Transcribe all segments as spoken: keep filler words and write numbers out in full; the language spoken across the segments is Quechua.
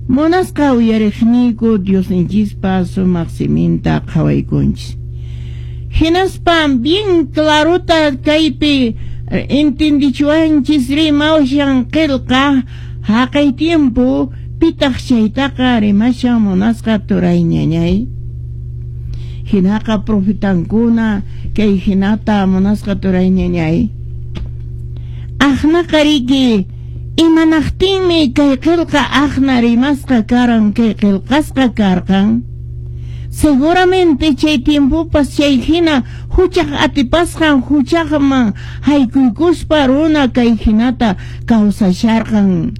Munasqa uyariqniyku, Diosninchispa sumaq siminta qhawaykunchis. Hinaspa bien clarota kaypi entendichiwanchis rimashan qillqa haqay tiempo. Pitaq chaytaqa rimashan, munasqa turay, ñañay? Hinaqa profetankuna kay hinata, munasqa turay, ñañay. Aqnaqa riki, imanaqtinmi kay qillqa aqna rimasqa karan, kay qillqasqa karqan? Seguramente chay tiempopas chay hina huchaq atipasqan, huchaqman haykuykuspa runa kay hinata kawsasharqan.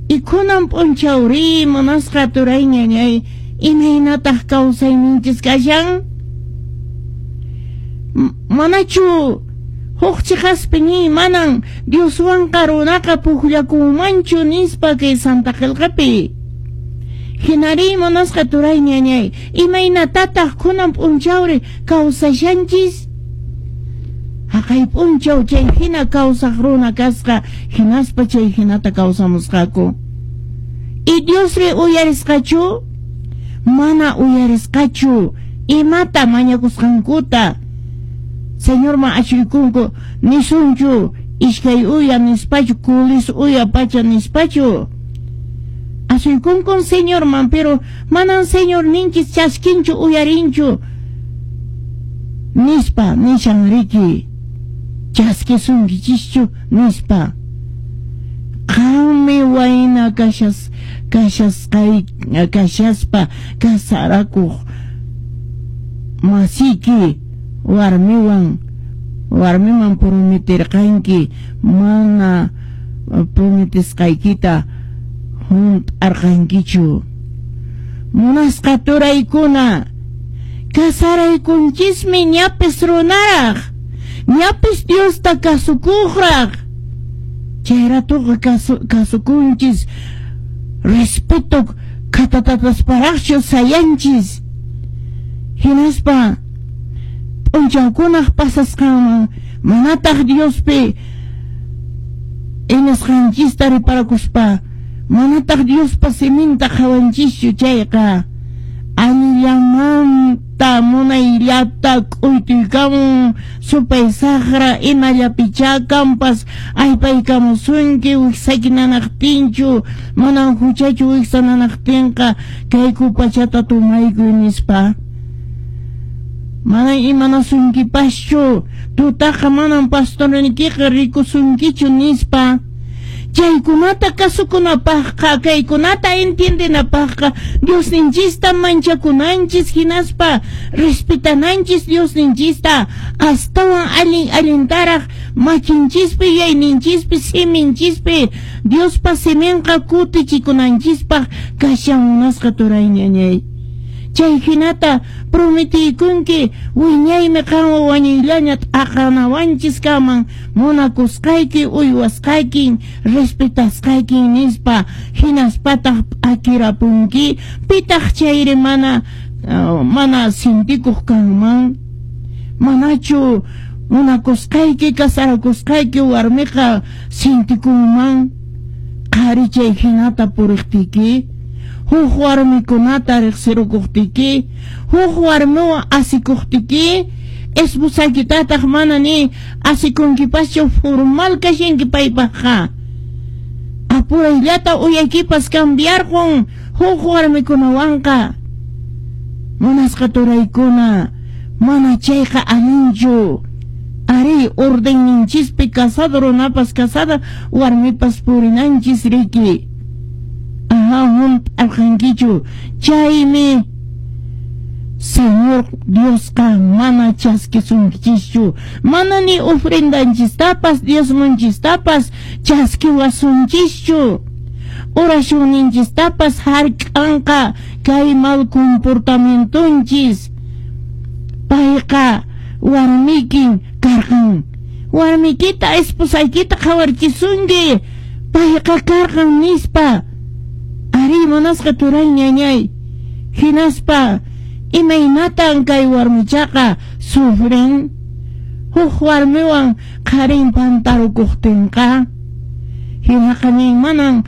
Y kunan p'unchawri, munasqa turay, ñañay, imaynataq kawsayninchis kashan? Manachu huk chiqaspi ni manan Dioswanqa runaqa pukllakunmanchu nispa kay Santa Qillqapi? Hinari, munasqa turay, ñañay, imaynatataq kunan p'unchawri kawsashanchis? Haqay p'unchaw chay hina kawsaq runa kasqa, hinaspa chay hinata kawsamusqaku. Y Diosri uyarisqachu? Mana uyarisqachu imata mañakusqankuta. Señorman ashuykunku nisunchu iskay uya nispachu, kulis uya pacha nispachu? Ashuykunkun Señorman, pero manan Señor ninchis chaskinchu, uyarinchu nispa nishan riki, chaskisunkichischu nispa. Qanmi wayna kashas kashasqay kashaspa kasarakuq masiki warmiwan warmiman prometerqanki, mana prometesqaykita hunt'arqankichu. Munasqa turaykuna, kasaraykunchismi ñapis runaraq, ñapis Diosta kasukuqraq. Chay ratuqa kasu, kasukunchis, respeto khatatatasparaqchu sayanchis. Hinaspa p'unchawkunaq pasasqanman manataq Diospi iñasqanchista riparakuspa, manataq Diospa siminta qhawanchischu chayqa, allillamanta munayllata k'uytuykamun supay saqra, imallapichá kanpas aypaykamusunki wiksayki nanaqtinchu, manan huchachu wiksa nanaqtinqa, kay kupachata tomaykuy nispa. Manan imanasunkipaschu, tutaqa manan pastornikiqa rikusunkichu nispa. Chaykunata kasukunapaqqa, kaykunata entiendenapaqqa, Diosninchista manchakunanchis, hinaspa respetananchis Diosninchista astawan allin allintaraq makinchispi, yuyayninchispi, siminchispi Diospa siminqa kutichikunanchispaq kashan, munasqa turay, ñañay. Chay hinata prometiykunki, wiñaymi qanwan wañuyllaña t'aqanawanchis kaman munakusqayki, uywasqaykin, respetasqaykin nispa, hinaspataq p'akirapunki. Pitaq chayri mana uh, mana sintikuq kanman? Manachu munakusqayki, kasarakusqayki warmiqa sintikunman qhari chay hinata puriqtiki, huk warmikunata riqsirukuqtiki, huk warmiwan asikuqtiki, esposaykitataq mana ni asikunkipaschu, formal kashanki paypaqqa? Apurayllata uyaykipas cambiarqun huk warmikunawanqa. Munasqa turaykuna, mana chayqa allinchu. Ari, ordenninchispi casado runapas, casada warmipas purinanchis riki. Aha, hunt'arqankichu. Chaymi Señor Diosqa mana chaskisunkichischu, mana ni ofrendanchistapas, diezmonchistapas chaskiwasunchischu. Oracionninchistapas hark'anqa kay mal comportamientonchis. Payqa warmikin karqan. Warmikita, esposaykita qhawarchisunki, payqa karqan nispa. Ari, munasqa turay, ñañay. Hinaspa imaynatan kay warmichaqa sufren huk warmiwan qharin pantarukuqtinqa? Hinaqa nin manan.